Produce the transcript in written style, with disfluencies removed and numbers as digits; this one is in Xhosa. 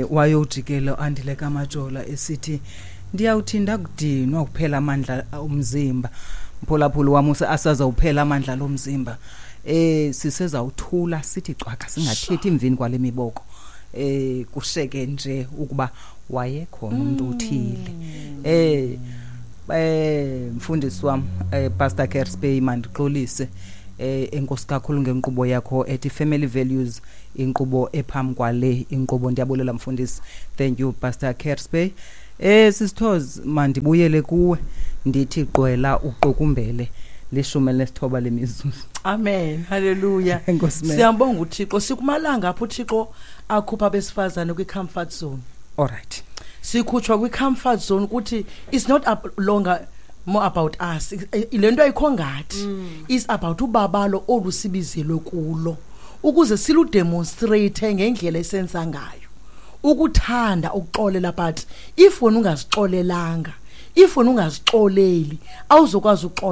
Wayojikela Andile kaMajola esithi, "Ndiyawuthi ndakudinwa kuphela amandla omzimba." Mphulaphuli wam, asazawuphela amandla lomzimba. Sisezawuthula sithi cwaka, singathethi emveni kwale miboko. Kusheke nje ukuba wayekhona umuntu othile. Mfundisi wam, Pastor Kerspey, mandixolise. Enkosi kakhulu ngenkqubo yakho ethi Family Values, inkqubo ephambi kwale inkqubo. Ndiyabulela, mfundisi. Thank you, Pastor Kerspey. Sisithozi, mandibuyele kuwe, ndithi qwela uqukumbele, 19 lemizuzu. Amen, haleluya. Enkosi, ma'am. Siyambonga uThixo. Sikumalanga apho uThixo akhupha abesifazane kwi-comfort zone. All right. Sikhutshwa kwi-comfort zone ukuthi it's not longer more about us. Le nto ayikho ngathi, is about ubabalo olusibizelwe kulo ukuze siludemonstrate ngendlela esenza ngayo ukuthanda ukuxolela. But if wena ungazixolelanga, if wena ungazixoleli, awuzokwazi uxolela.